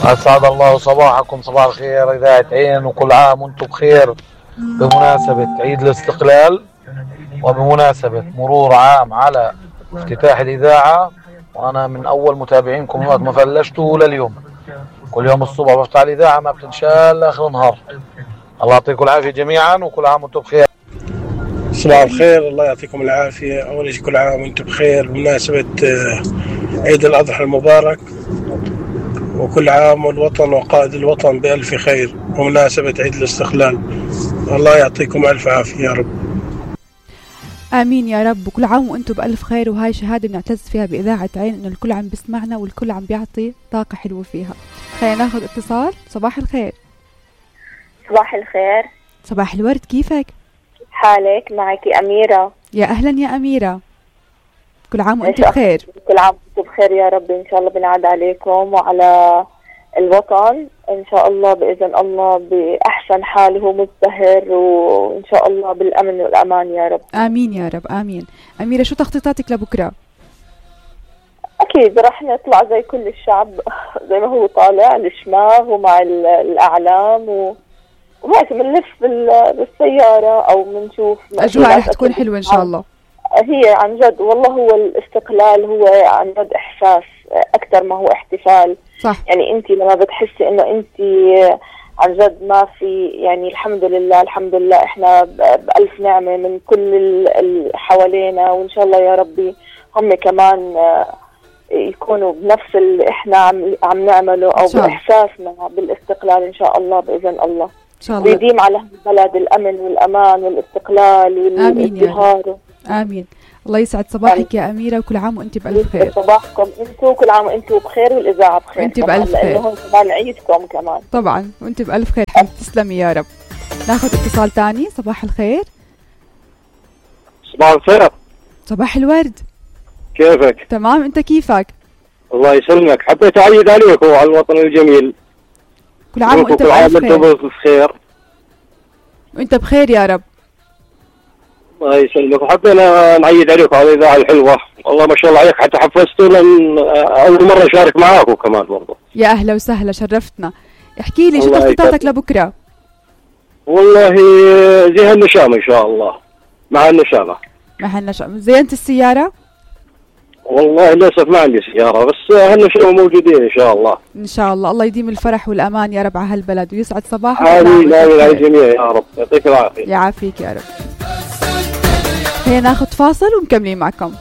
أسعد الله صباحكم، صباح الخير إذاعة عين، وكل عام وانتم بخير بمناسبة عيد الاستقلال وبمناسبة مرور عام على افتتاح الإذاعة. وأنا من أول متابعينكم من وقت ما فلشتوا لليوم، كل يوم الصبح بفتح الإذاعة ما بتنشال آخر النهار. الله يعطيكم العافية جميعا وكل عام وانتم بخير. صباح الخير، الله يعطيكم العافية. أول شيء كل عام وانتم بخير بمناسبة عيد الأضحى المبارك، وكل عام والوطن وقائد الوطن بألف خير بمناسبة عيد الاستقلال. الله يعطيكم ألف عافية يا رب. آمين يا رب، وكل عام وانتم بألف خير. وهاي شهادة بنعتز فيها بإذاعة عين إنه الكل عم بيسمعنا والكل عم بيعطي طاقة حلوة فيها. خلينا ناخذ اتصال. صباح الخير. صباح الخير. صباح الورد، كيفك؟ حالك؟ معك أميرة. يا أهلا يا أميرة، كل عام وانت بخير. كل عام وانت بخير يا رب، إن شاء الله بنعاد عليكم وعلى الوطن إن شاء الله بإذن الله بأحسن حال هو مزدهر، وإن شاء الله بالأمن والأمان يا رب. آمين يا رب آمين. أميرة، شو تخطيطاتك لبكرة؟ أكيد رح نطلع زي كل الشعب زي ما هو طالع الشماغ ومع الأعلام وهيك بنلف بالسيارة أو بنشوف أجواء رح تكون حلوة إن شاء الله. هي عن جد والله هو الاستقلال هو عن جد إحساس أكثر ما هو احتفال. صح. يعني أنت لما بتحسي إنه أنت عن جد ما في، يعني الحمد لله الحمد لله إحنا بألف نعمة من كل اللي حوالينا، وإن شاء الله يا ربي هم كمان يكونوا بنفس اللي إحنا عم نعمله أو بإحساسنا بالاستقلال إن شاء الله بإذن الله. إن شاء الله. ويديم على البلد الأمن والأمان والاستقلال والازدهار. آمين. الله يسعد صباحك يا أميرة، وكل عام وأنت بألف خير. صباحكم أنتوا، كل عام وأنتوا بخير والإذاعة بخير. وأنت بألف خير. لأنه كمان عيدكم كمان. طبعا وأنت بألف خير. تسلمي يا رب. ناخذ اتصال تاني. صباح الخير. صباح الخير. صباح الورد. كيفك؟ تمام، أنت كيفك؟ الله يسلمك. حبيت أعيد عليك وعلى الوطن الجميل. كل عام وأنت بألف خير. وأنت بخير يا رب. الله يسلمك. وحبينا نعيد عليك على الإذاعة الحلوة، والله ما شاء الله عليك، حتى حفزتوا لأن أول مرة أشارك معاكم كمان برضه. يا أهلا وسهلا، شرفتنا. احكي لي شو تخطيطاتك لبكرة؟ والله زي هالنشامة إن شاء الله. مع النشامة. مع النشامة. زينت السيارة؟ والله للأسف ما عندي سيارة، بس هالنشامة موجودين إن شاء الله. إن شاء الله. الله يديم الفرح والأمان يا رب على هالبلد ويسعد صباحك. آمين آمين على الجميع يا رب، يعطيك العافية. يعافيك يا رب. هيا ناخذ فاصل ومكملين معكم.